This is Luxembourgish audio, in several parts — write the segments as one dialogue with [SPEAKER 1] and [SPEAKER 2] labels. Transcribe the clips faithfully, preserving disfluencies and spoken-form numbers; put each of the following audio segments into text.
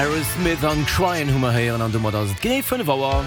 [SPEAKER 1] Aerosmith an Tryin' hu mer héieren an domat ass et genee fënnef Auer.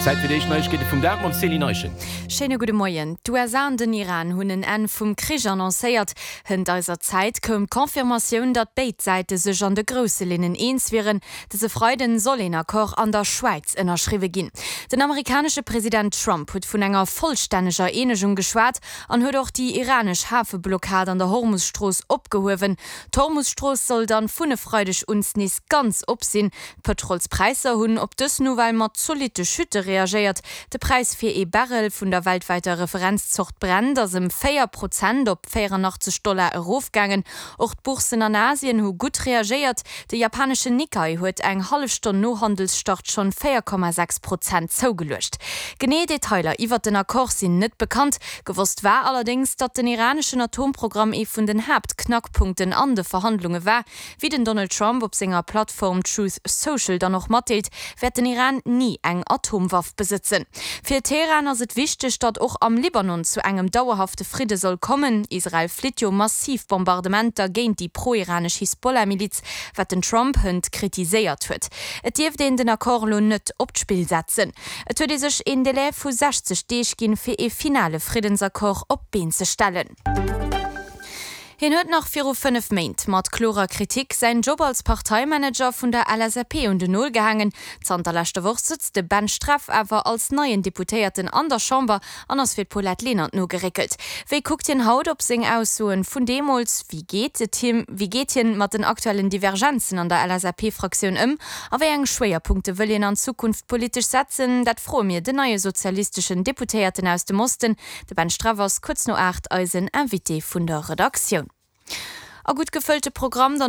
[SPEAKER 1] Zäit fir déi éischt Neiegkeete vum Dag mam Céline Eischen.
[SPEAKER 2] Schéine gudde Moien. D'USA an den Iran hunn en Enn vum Krich annoncéiert. Hënt eiser Zäit koum d'Confirmatioun, datt béid Säite sech an de grousse Linnen eens wieren. Dëse Freiden soll een Accord an der Schwäiz ënnerschriwwe ginn. Den amerikanesche President Trump huet vun enger vollstänneger Eenegung geschwat an huet och déi iranesch Hafeblockad an der Hormus-Strooss opgehuewen. D'Hormus-Strooss soll dann vun e Freideg un nees ganz op sinn. D'Pëtrolspräisser hunn op dës Nouvelle mat zolitte Chute reagéiert. De Präis fir ee Barrel vun der weltwäiter Referenzzort Brent ass ëm véier Prozent op véierannachtzeg Dollar erofgaangen. Och d'Bourssen an Asien hu gutt reagéiert. De japaneschen Nikkei huet eng hallef Stonn no Handelsstart schonn véier Komma sechs Prozent zougeluecht. Genee Detailer iwwert den Accord sinn net bekannt. Gewosst war allerdéngs, datt den iraneschen Atomprogramm ee vun den Haaptknackpunkten an de Verhandlunge war. Wéi den Donald Trump op senger Plattform Truth Social dann och matdeelt, wäert den Iran ni eng Atomwaff besëtzen. Fir Teheran ass et wichteg, datt och am Libanon zu engem dauerhafte Fridde soll kommen. Israel flitt jo massiv Bombardementer géint déi pro-iranesch Hisbollah-Miliz, wat den Trump hënt kritiséiert huet. Et dierft een den Accord elo net op d'Spill setzen. Et huet ee sech een Delai vu sechzeg Deeg ginn, fir ee finale Friddensaccord op d'Been ze stellen. Hien huet nach viru fënnef Méint mat klorer Kritik säin Job als Parteimanager vun der L S A P un den Nol gehaangen. Zanter leschter Woch sëtzt de Ben Streff awer als neien Deputéierten an der Chamber an ass fir d'Paulette Lenert nogeréckelt. Wéi kuckt hien haut op seng Aussoen vun deemools? Wéi geet et him, wéi geet hien mat den aktuellen Divergenzen an der L S A P-Fraktioun ëm? A wéi eng Schwéierpunkte wëll hien an Zukunft politesch setzen? Dat froe mir den neie sozialisteschen Deputéierten aus dem Osten. De Ben Streff ass kuerz no aacht eisen Invité vun der Redaktioun. A gutt gefëllte Programm dann.